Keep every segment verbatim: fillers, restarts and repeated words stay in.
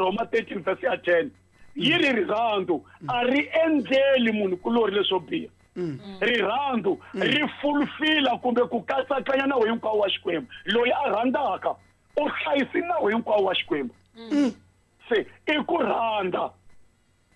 Varhoma thirteen verse ya ten yi ri rirhandzu a ri endleli munhu kulori leswo biha. Rirhandzu ri fulfila kumbe ku katsakanya nawu hinkwawo wa Xikwembu. Loyi a rhandzaka u hlayisi nawu hinkwawo wa Xikwembu. Se i ku rhandza.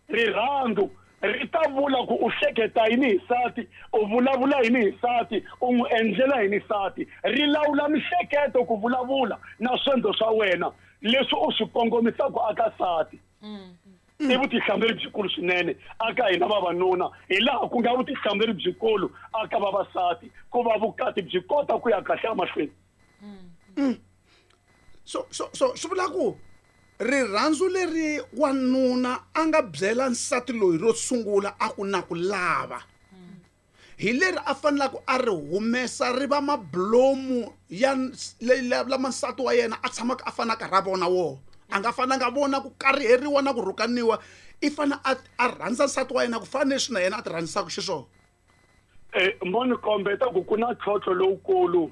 Rirhandzu ri ta vula ku u hleketa yini hi nsati, u vulavula yini hi nsati, u n'wi endlela yini nsati. Ri lawula mihleketo ku vulavula na swendlo swa wena leswi u swi kongomisaka aka nsati. I vutihlamuleri byikulu swinene aka hina vavanuna, hi laha ku nga vutihlamuleri byikulu aka vavasati ku va vukati byi kota ku ya kahle emahlweni. So so so swi vula ku rirhandzu leri wanuna a nga byela nsati loyi ro sungula a ku na ku lava hi leri a fanelaka a ri humesa ri va mablomu ya lama nsati wa yena a tshamaka a fanaka ra vona wo a nga fananga vona ku kariheriwa na ku rhukaniwa, i fana a a rhandza nsati wa yena ku fana leswi na yena a ti rhandzisaka xiswona. Eh mo ni kombeta ku ku na ntlhontlho lowukulu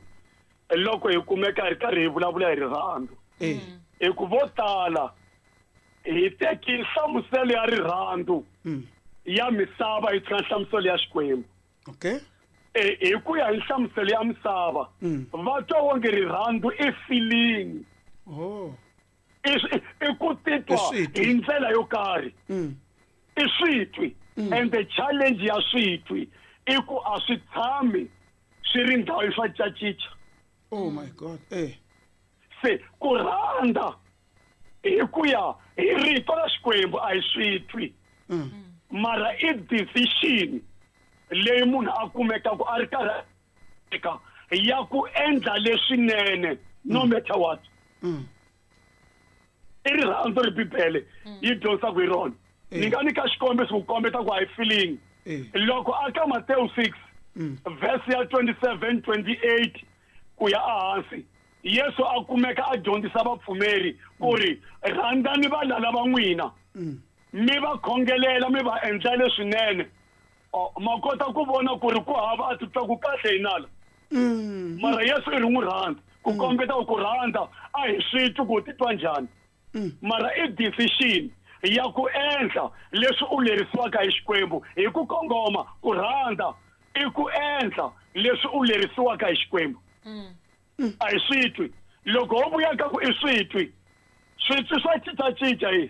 loko hi kumeka hi ri karhi hi vulavula hi rirhandzu. Hi ku vo tala hi teki nhlamuselo ya rirhandzu ya misava hi tshika nhlamuselo ya Xikwembu. Okay. Eh hi ku ya hi nhlamuselo ya misava va twa wonge rirhandzu i feeling. Oh. I ku titwa hi ndlela yo karhi. I switwi. And the challenge ya switwi i ku a swi tshami swi ri ndhawu swa cacica. Oh my God. Eh. Se ku rhandza hi ku ya hi rito ra Xikwembu a hi switwi. Mara i decision leyi munhu a kumekaka a ri karhi eka ya ku endla leswinene no matter what. I rirhandzu ri Bibele yi dyondzisaka hi rona. Ni nga nyika xikombiso ku kombeta ku a hi feeling. Loko aka Matthew six verse ya twenty-seven twenty-eight ku ya ehansi, Yesu a kumeka a dyondzisa vapfumeri ku ri rhandzani valala va n'wina mi va khongelela mi va endla leswinene. Ma kota ku vona ku ri ku hava a titwa ku kahle hi nala. Mara Yesu i ri n'wi rhandza ku kombeta ku rhandza a hi swi twi ku titwa njhani. Mara i decision ya ku endla leswi u lerisiwaka hi Xikwembu hi ku kongoma. Ku rhandza i ku endla leswi u lerisiwaka hi Xikwembu. A hi swi twi. Loko ho vuya ka ku i swi twi, switwi swa cincacinca hi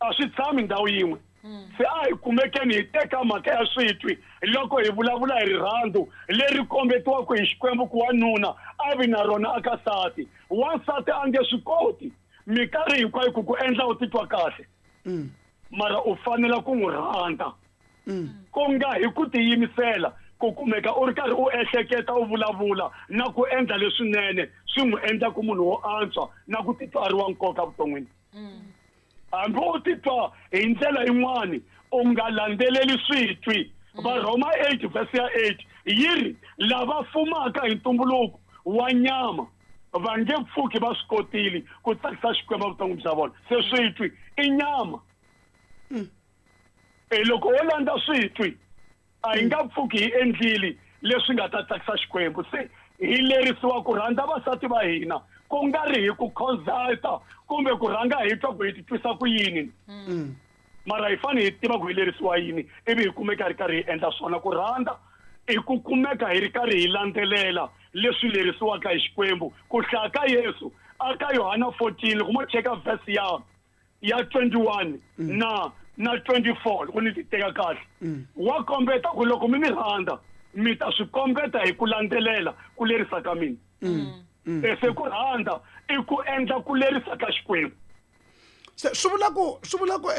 a swi tshami ndhawu yin'we. Se a hi kumekeni hi teka mhaka ya switwi loko hi vulavula hi rirhandzu leri kombetiwaka hi Xikwembu ku wanuna a vi na rona aka nsati. Wansati a nge swi koti minkarhi hinkwayo ku ku endla u titwa kahle, mara u fanela ku n'wi rhandza ku nga hi ku tiyimisela ku kumeka u ri karhi u ehleketa u vulavula na ku endla leswinene swi n'wi endla ku munhu wo antswa na ku titwa a ri wa nkoka vuton'wini. Hambi u titwa hi ndlela yin'wani u nga landzeleli switwi. Varhoma eight verse ya eight yi ri lava fumaka hi ntumbuluko wa nyama va nge pfuki va swi kotile ku tsakisa Xikwembu vuton'wini bya vona. Se switwi i nyama. E loko wo landza switwi a hi nga pfuki hi endlile leswi nga ta tsakisa Xikwembu. Se hi lerisiwa ku rhandza vasati va hina ku nga ri hi ku consulta kumbe ku rhanga hi twa ku hi titwisa ku yini. Mara hi fanele hi tiva ku hi lerisiwa yini ivi hi kumeka hi ri karhi hi endla swona. Ku rhandza i ku kumeka hi ri karhi hi landzelela leswi lerisiwaka hi Xikwembu. Ku hlaya ka Yesu aka Yohana fourteen loko mo cheka verse ya ya twenty-one na na twenty-four loko ni ti teka kahle, wa kombeta ku loko mi ni rhandza mi ta swi kombeta hi ku landzelela ku lerisa ka mina. Se ku rhandza i ku endla ku lerisa ka Xikwembu. Se swi vula ku swi vula ku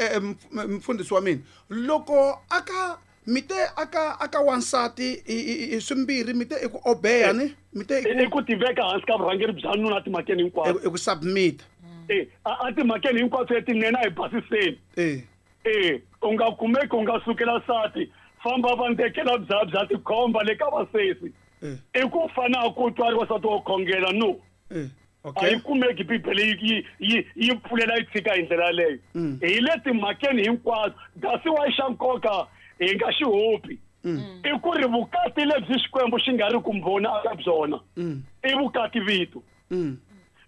mfundhisi wa mina loko aka mite aka aka wansati i swimbirhi mite i ku obeya ni mite i ku tiveka hansi ka vurhangeri bya nuna timhakeni hinkwato, i ku submit eh a timhakeni hinkwato letinene a hi basiseni. Eh eh u nga kumeki u nga sukela nsati famba va ndekela bya bya tikhomba le ka vasesi. I ku fana ku twa ri wasati wo khongela no. Okay. A yi kumeki Bibele yi yi yi pfulela yi tshika hi ndlela yaleyo. Hi le timhakeni hinkwato kasi wa xa nkoka hi nga xi hopi i ku ri vukati lebyi Xikwembu xi nga ri ku mbhoni aka byona i vukati vito.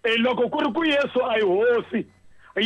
E loko ku ri ku Yesu a hi hosi